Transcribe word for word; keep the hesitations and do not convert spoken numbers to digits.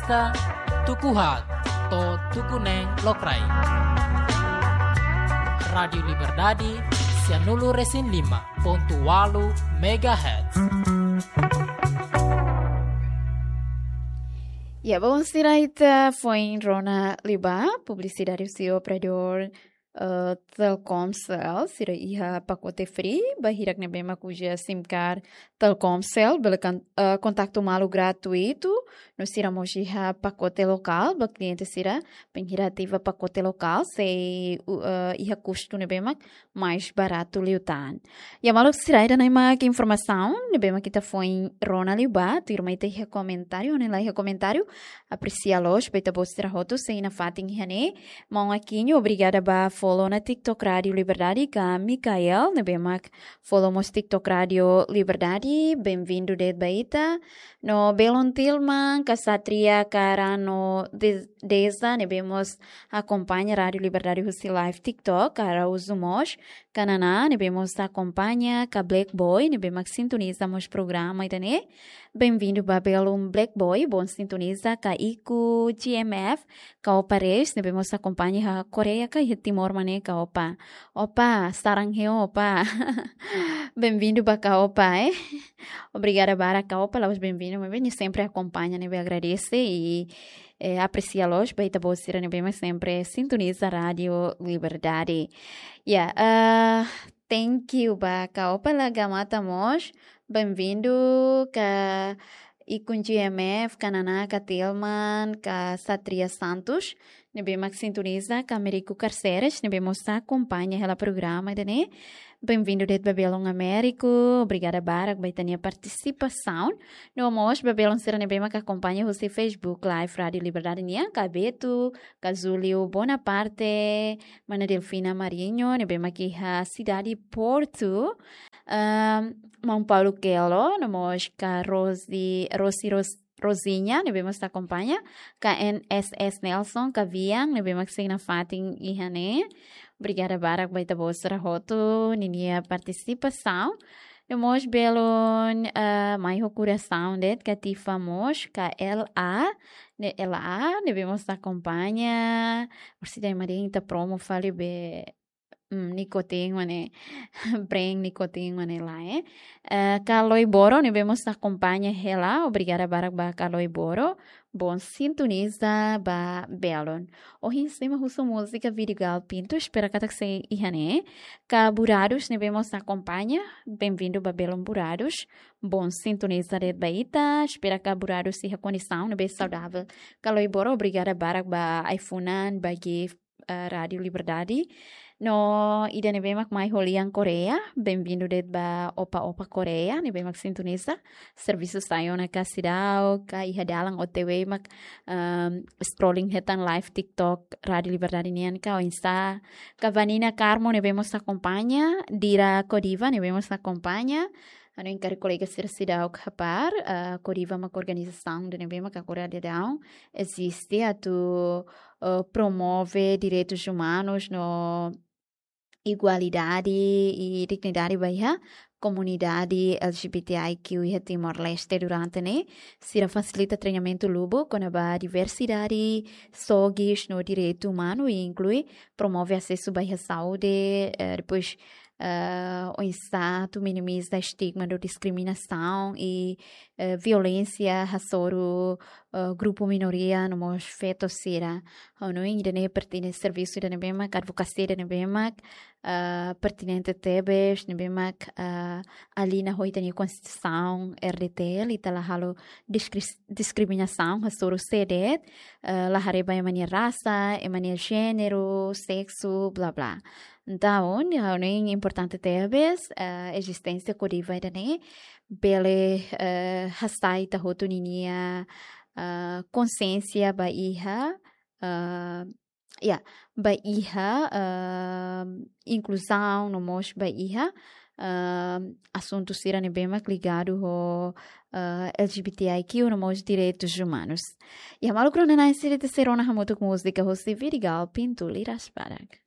ita, tuku haat to'o tuku neen lokraik. Rádiu Liberdade, sianulu resin lima pontu walu megahertz. Ya, bom, sira ita foin rona liubá publisidade husi operadór, eh, Telkomcel, sira iha pakote free, ba hirak ne'ebé mak uza SIM card Telkomcel, bele kan, eh, kontaktu malu gratuitu, no sira mós iha pakote lokál, ba kliente sira, bainhira ativa pakote lokál, sei, u-, eh, iha kustu ne'ebé mak mais baratu liután. Ya, maluk sira, ida-ne'e mak informasaun ne'ebé mak ita foin rona liubá, tuirmai ita iha komentáriu, ne'e la iha komentáriu, apresia loos ba ita-boot sira hotu sei nafatin iha ne'e. Maun Aquino, obrigada ba follow ona TikTok Rádiu Liberdade, ka Mikael, ne'ebé mak follow mós TikTok Rádiu Liberdade, bem-vindo de'it ba ita. No belun Tilman, ka Satria, ka Rano de-, Deza, ne'ebé mós akompaña Rádiu Liberdade husi live TikTok, ka Araújo mós, ka Naná, ne'ebé mós akompaña, ka Black Boy, ne'ebé mak sintoniza mós programa ida-ne'e. Bem-vindo ba belun Black Boy, bom sintoniza, ka Iku G M F, ka Opa Reis, ne'ebé mós akompaña iha Koreia, ka iha Timor mak ne'e, ka Opa. Opa, sarang heo, Opa. Bem-vindo ba ka Opa, eh? Obrigada barak ka Opa, la'ós bem-vindo, mas bem, sempre akompaña, ne'ebé agradese i, eh, apresia loos ba ita-boot sira ne'ebé mak sempre sintoniza Rádiu Liberdade. Ya, eh, thank you ba ka Opa, la gamata mós. Bem-vindo, ka Ikun G M F, ka Naná, ka Tilman, ka Satria Santos, ne'ebé mak sintoniza, ka Meriku Carceres, ne'ebé mós akompaña hela programa ida-ne'e. Bem-vindo de'it ba belun Américo, obrigada barak ba ita-nia partisipasaun. No mós ba belun sira ne'ebé mak akompaña husi Facebook Live Rádiu Liberdade nian, ka Beto, ka Júlio Bonaparte, mana Delfina Marinho, ne'ebé mak iha sidade Porto, ehm, maun Paulo Kelo, no mós ka Rosi, Rosi Ros-, Rosinha, ne'ebé mós akompaña, ka N S S Nelson, ka Vian, ne'ebé mak sei nafatin iha ne'e. Obrigada barak ba ita-boot sira hotu ninia partisipasaun. No mós belun, eh, mai ho korasaun de'it, ka Tifa mós, ka L A, ne'e L A, ne'ebé mós akompaña. Orsida ema dehan ita promo fali be, mm, nikotin mak ne'e, brand nikotin mak ne'e lae. Eh, ka Loi Boro, ne'ebé mós akompaña hela, obrigada barak ba ka Loi Boro. Bom sintoniza ba belun. Ohin sei mak husu múzika Vidigal Pinto, espera katak sei iha ne'e. Ka Buradus, ne'ebé mós akompaña, bem-vindo ba belun Buradus. Bom sintoniza de'it ba ita, espera ka Buradus iha kondisaun ne'ebé saudavel. Ka Loi Boro, obrigada barak ba ai-funan, ba gift, eh, Rádiu Liberdade. No ida ne'ebé mak mai ho lian Koreia, bem-vindo de'it ba Opa Opa Koreia, ne'ebé mak sintoniza servisu sai ona ka seidauk, ka iha dalan O T W mak, ehm, scrolling hetan live TikTok Rádiu Liberdade nian ka oinsá. Ka Vanina Carmo ne'ebé mós akompaña, Dira Kodiva ne'ebé mós akompaña, hanoin karik kolega sira seidauk hapara, eh, Kodiva mak organizasaun ida ne'ebé mak agora daudaun eziste atu, eh, promove direitus umanus no igualdade i dignidade ba iha komunidade L G B T I Q iha Timor-Leste. Durante ne'e, sira fasilita treinamentu lubuk kona-ba diversidade, sogis no direitu umanu i inklui promove asesu ba iha saúde, eh, depois, eh, oinsá atu minimiza estigma no diskriminasaun i, eh, violénsia hasoru, eh, grupu minoria no mós feto sira. Hanoin ida-ne'e pertine-, servisu ida ne'ebé mak, advokasia ida ne'ebé mak, eh, pertinente tebes, ne'ebé mak, eh, alinha ho ita-nia Konstituisaun R D T L, ita la halo diskri-, diskriminasaun hasoru sé de'it, eh, la haree ba ema nia rasa, ema nia jéneru, seksu, bla bla. Entaun, hanoin importante tebes, eh, ezisténsia Kodiva ida-ne'e, bele, eh, hasai ita hotu ninia, eh, konsiénsia ba iha, eh, ya, ba iha, eh, inkluzaun, no mós ba iha, eh, asuntu sira ne'ebé mak ligadu ho, eh, L G B T I Q, no mós direitus umanus. Ya, maluk rona-na'in sira, ita sei rona hamutuk múzika husi Vidigal Pinto, Liras Barak.